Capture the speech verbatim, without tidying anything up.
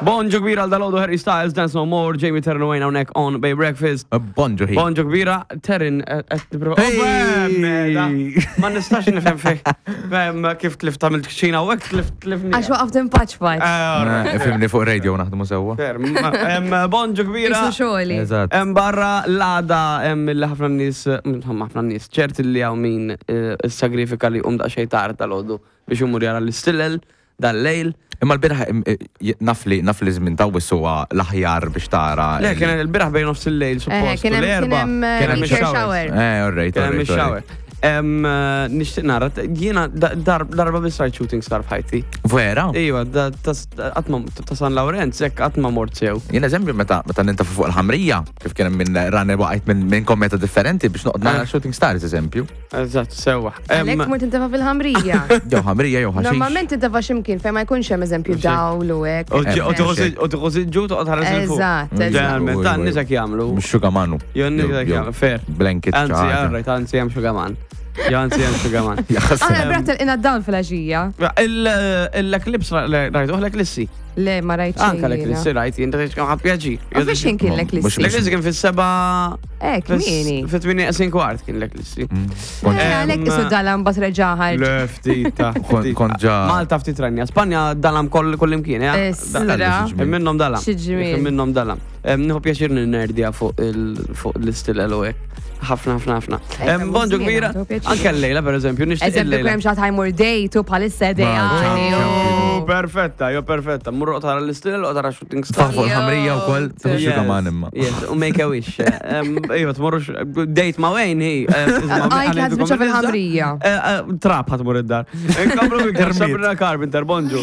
Bonġu kbira għal dalgħodu, Harry Styles, Dance No More, Jamie Terran Wayne hawnhekk on Bay Breakfast. Bonġu hi. Bonġu kbira, Terran, qed nipprova. Hey! Ma nistax nifhem fej. Fem kif tlift għamilt kċina u hekk tlift tlifni. Għax waqaft impaċ. Eh, Ifhimni, fuq radio naħdmu sewwa. Bonġu kbira. Isu xogħli. Eżatt. Hemm barra l-għada hemm li ħafna nies, insomma ħafna nies, ċert li hawn min eh, issagrifika li jqum daqsxejn tard dalgħodu biex imur jara l-istilel dal-lejl. Imma l-bieraħ eh, naf li naf li żmien ta' huwa l-aħjar biex tara. Le, kien il-bieraħ bejn nofs il-lejl, Eh, suppost. kien hemm kien l-erba. hemm Kien hemm meteor showers. shower. Eh, all right, Kien all hemm right, all ix-shower. right. Em, eh, Nixtieq nara, jiena da- dar- darba biss rajt shooting star f'ħajti. Vera? Iva, da- tas- qatt ma ta' San Lawrenz, hekk qatt ma mort sew. Jien eżempju meta meta nintafu fuq il-ħamrija, kif kien hemm minn rani waqajt minn minn kometa differenti biex noqgħod nara Eh. shooting stars eżempju. Eżatt, sewwa. Em, Għalhekk mort tintefa fil-ħamrija. Jew ħamrija jew ħaxix. Normalment tintefa x'imkien fejn ma jkunx hemm eżempju dawl u hekk. U u tieħu siġġu toqgħod ħares 'il fuq. Eżatt, eżatt. Ġeneralment, dan nies hekk jagħmlu. Mhux xugamanu. Jo nies hekk jagħmlu, fair. Blanket. Anzi, ċaħġa. alright, anzi hemm xugaman. Jo anzi hemm xugaman. Aħna brat il dawl fil-għaxija. L-eclipse rajtu, l-eclissi. Le, ma rajt Anka l-eclissi rajt, jien ta' ħadd pjaċir. U fiex kien kien l-eclissi? L-eclissi kien fis-seba. Eh, kmieni. Fit-tmienja neqsin kwart kien l-eclissi. Eh, Għalhekk isu dalam bat reġaħar. Le, ftit ta' Kont- kont ġa- Malta ftit rajna. Spanja dalam koll koll imkien, eh? Isra. Kien minnhom dalam. Xi ġmiel. Kien minnhom dalam. Em, Nieħu pjaċir ninnerdja fuq il- fuq l-istilel u hekk. Ħafna, ħafna, ħafna. Eh, Em, Bonġu żmien kbira. għandu pjaċir. Anke l-lejla, per eżempju, nixtieq Eżempju, il-lejla. kemm xi ħadd ħa jmur date u bħalissa ideali. Oh, perfetta, jo perfetta. Murru tara l-istilel u tara shooting star. Fuq il-ħamrija wkoll tieħu xugaman imma. Yes, u make a wish. Em, Iva, tmorrux, date ma' Wayne, hi. Għajt li ħa tispiċċa fil-ħamrija. Trap ħa tmur id-dar. Inkomplu Sabrina Carpenter, bonġu.